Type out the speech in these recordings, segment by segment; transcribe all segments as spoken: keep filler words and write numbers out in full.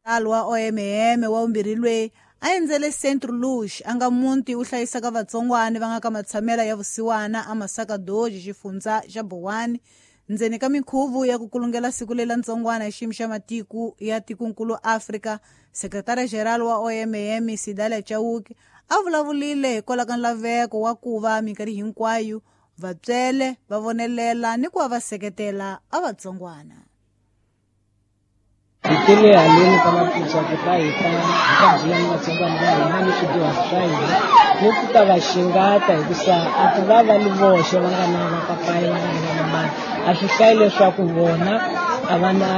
Wa O M M wa vumbirhi loyi a endzele Centro Luz a nga muti wu hlayisaka vatsongwana va nga ka matshamela ya vusiwana a Masaka Doji xifundza xa Bowani ndzeni ka minkhuvo ya ku kulungela siku lela ntsongwana hi xiyimo xa matiko ya tikonkulu Afrika. Sekretari General wa O M M Sidalia Chauke a vulavulile hikwalaho ka nlaveko wa ku va minkarhi hinkwayo vatswele va vonelela ni ku va va seketela a vatsongwana. Hi tele haleni ka Maputo ku ta hi ta hi ta bula ni vatsongwana va hina ni swidyuhari swa hina ni ku ta va xingata hikusa a ku va va ni voxe va nga na vapapayi va nga na vamamani a swi hlayi leswaku vona a va na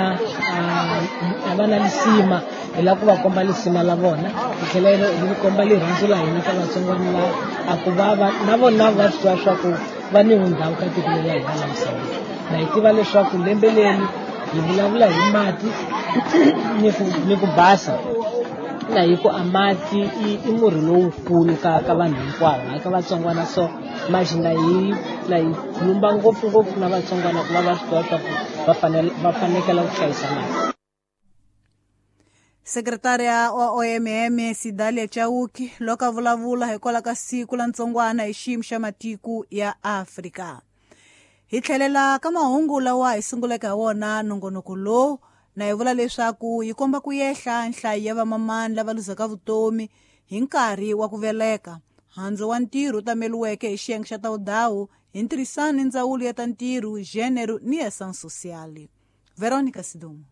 a va na lisima hi lava ku va komba lisima la vona hi tlhela hi komba rirhandzu la hina ka vatsongwana lava a ku va va na vona va swi tiva swa ku va ni vundhawu ka tiko leri la hina la Mozambique na hi tiva leswaku lembe leri hi vulavula hi mati ni ku ni ku basa na hi ku a mati i i murhi lowukulu ka ka vanhu hinkwavo hayi ka vatsongwana so manje na hi na hi khulumba ngopfungopfu na vatsongwana ku va va swi tiva swa ku va fanele va fanekela ku hlayisa mati. Sekretária wa O M M Sidalia Chauke loko a vulavula hikwalaho ka siku la ntsongwana hi xiyimo xa matiko ya Afrika. Hi tlhelela ka mahungu lawa hi sunguleke ha wona nongonoko lowu na hi vula leswaku yi komba ku yehla nhlayo ya vamamani lava luzaka vutomi hi nkarhi wa ku veleka. Handzu wa ntirho wu tameriweke hi xiyenge xa ta vudawu hi ntirhisano ni ndzawulo ya ta ntirho, gênero ni ya ação social. Veronica Sidumo.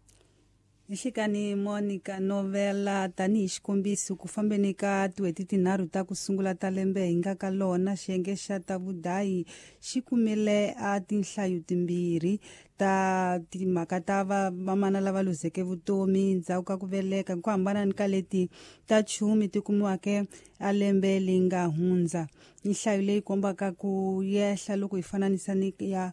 Nhlikani Monica Novela tanihi xikombiso ku fambeni ka tin'hweti tinharhu ta ku sungula ta lembe hi nga ka lona xiyenge xa ta vudayi xi kumile a tinhlayo timbirhi ta timhaka ta vamana lava luzeke vutomi ndzhaku ka ku veleka ku hambana ni ka leti ta chumi ti kumiwake a lembe leri nga hundza. Nhlayo leyi kombaka ku yehla loko hi fananisa ni ya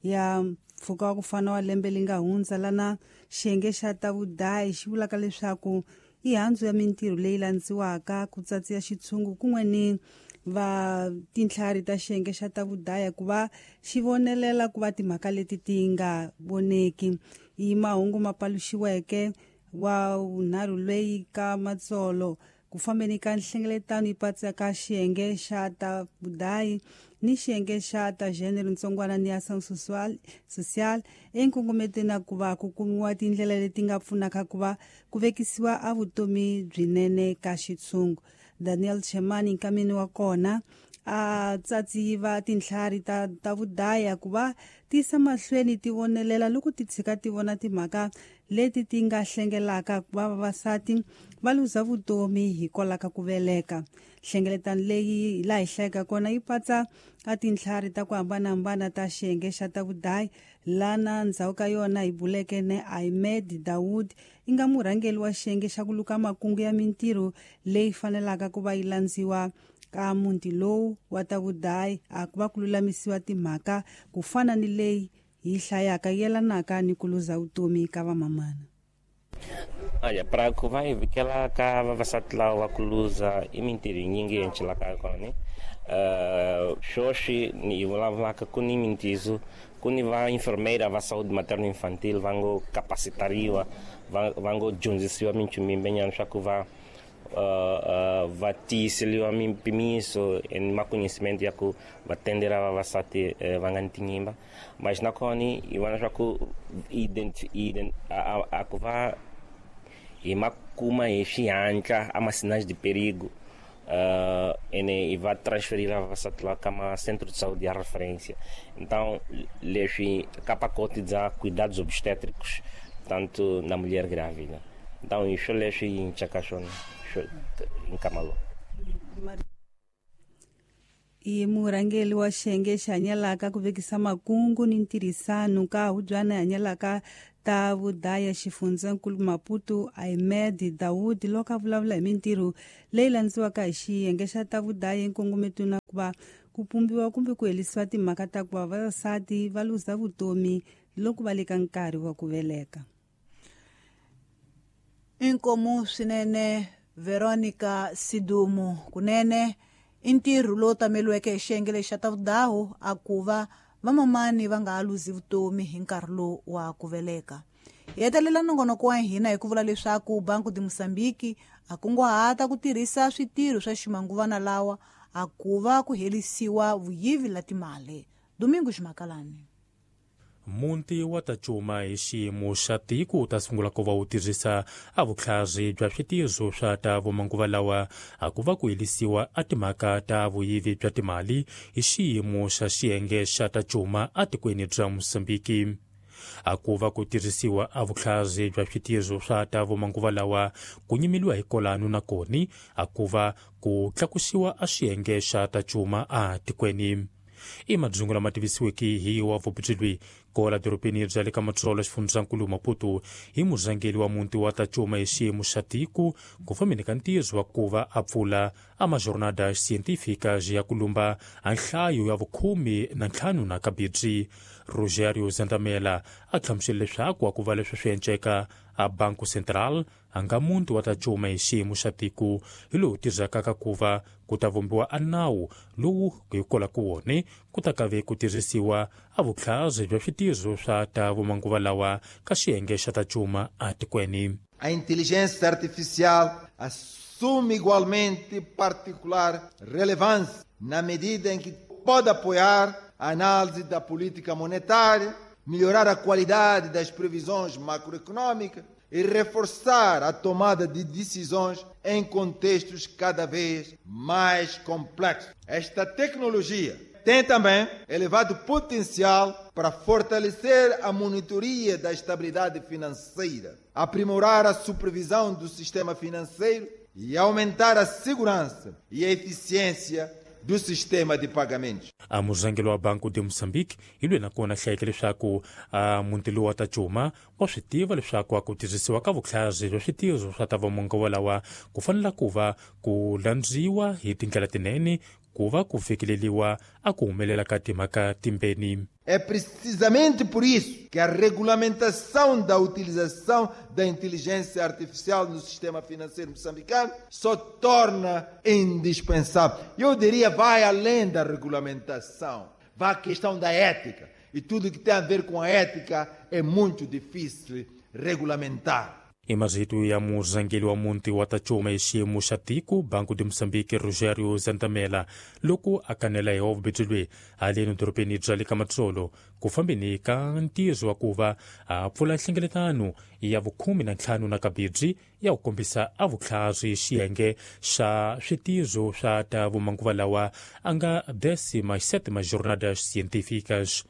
ya mpfhuka wa ku fana wa lembe leri nga hundza lana xiyenge xa ta vudayi xi vulaka leswaku i handzu ya mintirho leyi landziwaka ku tsatsiya xitshungu kun'we ni va tintlhari ta xiyenge xa ta vudaya ku va xi vonelela ku va timhaka leti ti nga voneki. I mahungu ma paluxiweke wa vunharhu leyi ka matsolo ku fambeni ka nhlengeletano yi patsaka xiyenge xa ta vudayi ni xiyenge xa ta gênero ntsongwana ni ação social social enkongometweni na ku va ku kumiwa tindlela leti nga pfunaka ku va ku vekisiwa a vutomi byinene ka xitshungu. Daniel Chemani nkameni wa kona a tsatsiva tintlhari ta ta vudaya ku va tisa mahlweni ti vonelela loko ti tshika ti vona timhaka leti ti nga hlengelaka ku va vavasati va luza vutomi hikwalaho ka ku veleka. Nhlengeletano leyi laha hi hlayaka kona yi patsa a tintlhari ta ku hambanahambana ta xiyenge xa ta vudayi lana ndzhaku ka yona hi buleke ne Ahmed Dawood yi nga murhangeri wa xiyenge xa ku luka makungu ya mintirho leyi fanelaka ku va yi landziwa ka muti lowu wa ta vudayi a ku va ku lulamisiwa timhaka ku fana ni leyi hi hlayaka yelanaka ni ku luza vutomi ka vamamana. Olha, para ku va hi vikela ka vavasati lava va ku luza i mintirho yinyingi yi encelaka kona. Uh, sweswi ni hi vulavulaka ku ni mintizo ku ni va enfermeira va saúde materno infantil va ngo capacitariwa va va ngo dyondzisiwa minchumu yimbenyana swa ku va uh, uh, va tiyiseliwa mimpimiso ni maconhecimento ya ku va tendela vavasati uh, va nga ni tinyimba. Mas nakona hi vona swa ku identi, ident, a, a, a ku va hi ma kuma hi xihatla a ma sinais de perigo uh, ene hi va transferir vavasati lava ka ma centro de saúde ya referência. Então leswi ka pacote bya cuidados obstétricos tanto na mulher grávida. Então isso leswi hi ncaka swona nkama lowu. I murhangeri wa xiyenge xi hanyelaka ku vekisa makungu ni ntirhisano ka hubyana hanyelaka ta vudaya xifundzankulu Maputo Ahmed Dawood loko a vulavula hi mintirho leyi landziwaka hi xiyenge xa ta vudaya enkongometweni na ku va ku pumbiwa kumbe ku herisiwa timhaka ta ku va vavasati va luza vutomi loko va le ka nkarhi wa ku veleka. Inkomu swinene Veronica Sidumo kunene i ntirho lowu tameriweke hi xiyenge lexi xa ta vudawu a ku va vamamani va nga ha luzi vutomi hi nkarhi lowu wa ku veleka. Hi hetelela nongonoko wa hina hi ku vula leswaku Banco de Moçambique a kunguhata ku tirhisa switirho swa ximanguvana lawa a ku va ku herisiwa vuyivi la timali. Domingos Makalani. Muti wa ta cuma hi xiyimo xa tiko wu ta sungula ku va wu tirhisa a vutlhari bya switirho swa ta vumanguva lawa a ku va ku herisiwa a timhaka ta vuyivi bya timali hi xiyimo xa xiyenge xa ta cuma etikweni bya Mozambiki. A ku va ku tirhisiwa a vutlhari bya switirho swa ta vumanguva lawa ku nyimeliwa hi kolano na koni a ku va ku tlakusiwa a xiyenge xa ta cuma a tikweni. I madzungu lama tivisiweke hi wa vupitsilwi kola dorobeni bya le ka Matsolo xifundzankulu Maputo hi murhangeri wa muti wa ta cuma hi xiyimo xa tiko ku fambeni ka ntirho wa ku va a pfula a majornada científicas ya ku lumba a nhlayo ya vukhume na ntlhanu na kabirhi. Rogério Zandamela a hlamusela leswaku a ku va leswi swi enceka a Banco Central a nga muti wa ta cuma hi xiyimo xa tiko hi lowu tirhaka ka ku va ku ta vumbiwa a nawu lowu hi kola ku wone ku ta kave ku tirhisiwa a vutlhari bya switirho swa ta vumanguva lawa ka xiyenge xa ta cuma etikweni. A inteligência artificial assume igualmente particular relevância na medida em que pode apoiar a análise da política monetária, melhorar a qualidade das previsões macroeconômicas e reforçar a tomada de decisões em contextos cada vez mais complexos. Esta tecnologia tem também elevado potencial para fortalecer a monitoria da estabilidade financeira, aprimorar a supervisão do sistema financeiro e aumentar a segurança e a eficiência do sistema de pagamentos. A murhangeri wa Banco de Moçambique hi loyi nakona hlayeke leswaku a muti lowu wa ta cuma wa swi tiva leswaku a ku tirhisiwa ka vutlhari bya switirho swa ta vamanguva lawa ku fanela ku va ku landziwa hi tindlela tinene ku va ku fikeleriwa a ku humelela ka timhaka timbeni. É precisamente por isso que a regulamentação da utilização da inteligência artificial no sistema financeiro moçambicano só torna indispensável. Eu diria, vai além da regulamentação, vai à questão da ética. E tudo que tem a ver com a ética é muito difícil regulamentar. I marito ya murhangeri wa muti wa ta cuma hi xiyimo xa tiko Banco de Moçambique Rogério Zandamela loko a kanela hi vubetsilwi haleni dorobeni bya le ka Matsolo ku fambeni ka ntirho wa ku va a pfula nhlengeletano ya vukhume na ntlhanu na kabirhi ya ku kombisa a vutlhari xiyenge xa switirho swa ta vumanguva lawa a nga décima sétima jornada científicas.